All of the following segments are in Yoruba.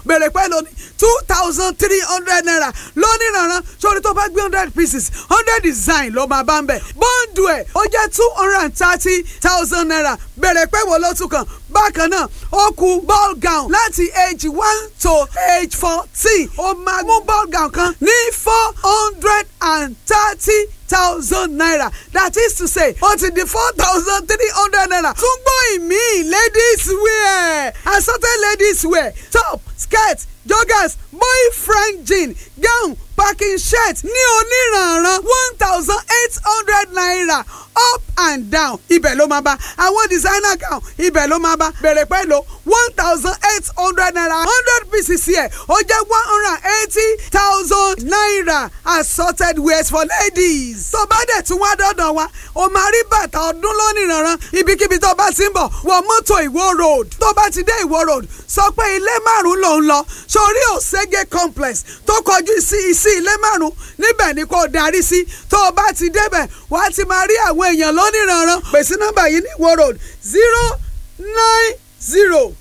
Bèrè pẹ́ lónìí 2,300 naira lónìí rànran. Sórí tó bá gbé 100 pieces, 100 design ló máa bá ń bẹ̀. Bọ́ǹdù ẹ̀ ó jẹ́ 230,000 naira. Bèrè pé wo ló tún kàn. Bákan náà, ó kù ball gown láti age 1 to age 14. Ó máa mú ball gown kan ní 430,000 naira, that is to say, ó ti di 4,300 naira. Tún gbọ́ ìmíì, ladies wear, assorted ladies wear, top, skirt, joggers, boyfriend jean, gown, packing shirt ní oníranran 1,800 naira up and down. Ibẹ̀ ló máa bá àwọn designer gown, ibẹ̀ ló máa bá. Bẹ̀rẹ̀ pẹ̀lú 1,800 naira, 100 pieces yẹ, ó jẹ́ 180,000 naira, assorted wears for ladies. Tó bá dẹ̀ tún wá dọ́dọ̀ wa, o máa rí bàtà ọdún lóníranran. Ibikíbi tó bá ti ń bọ̀, wọ mọ́tò Ìwó Road. Tó bá ti dé Ìwó Road, sọ pé ilé márùn-ún ló ń lọ sórí Òṣègé complex tó kọjú sí ilé márùn-ún, níbẹ̀ ni kò darí sí. Tó o bá ti débẹ̀, wàá ti máa rí àwọn èèyàn lóníranran. Pè sí nọ́mbà yìí ní Ìwó Road: 090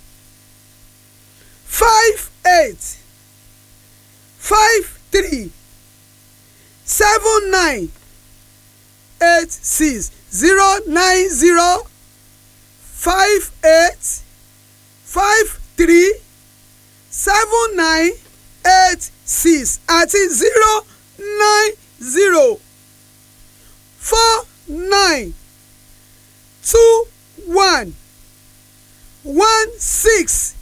58 53 79 86. 090 58 53 79 86 àti 090 49 21 16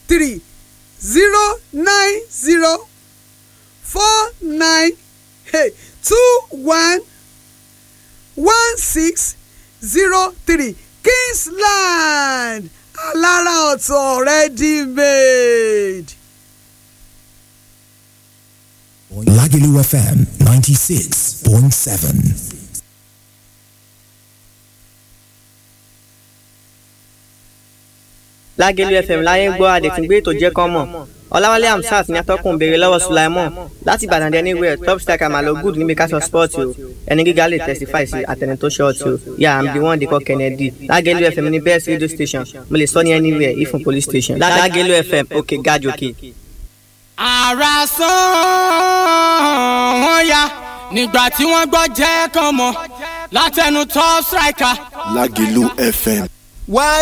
03. 090 49, hey, 21 16 03. Kingsland, alára ọ̀tọ̀, ready made. Lagelu FM 96.7. Lágẹ̀lú FM láyé ń gbọ́, adẹ̀túngbé ètò jẹ́ kán mọ̀. Ọláwálé Hamsat ní atọ́kùn béèrè lọ́wọ́ Sulaimon láti Ìbàdàn dé anywhere. Top striker mà ló good níbi ká sọ sport o. Ẹni gíga lè testify sí àtẹni tó short o. Yeah, I'm the one they call Kennedy. Lágẹ̀lú FM ní best radio station, mo lè sọ ní anywhere, ifun police station. Lágẹ̀lú FM, òkè gájòkè. Ara sán wọ́n ya nígbà tí wọ́n gbọ́ jẹ́ kàn mọ́ látẹnu top striker. Lágìlú FM. Why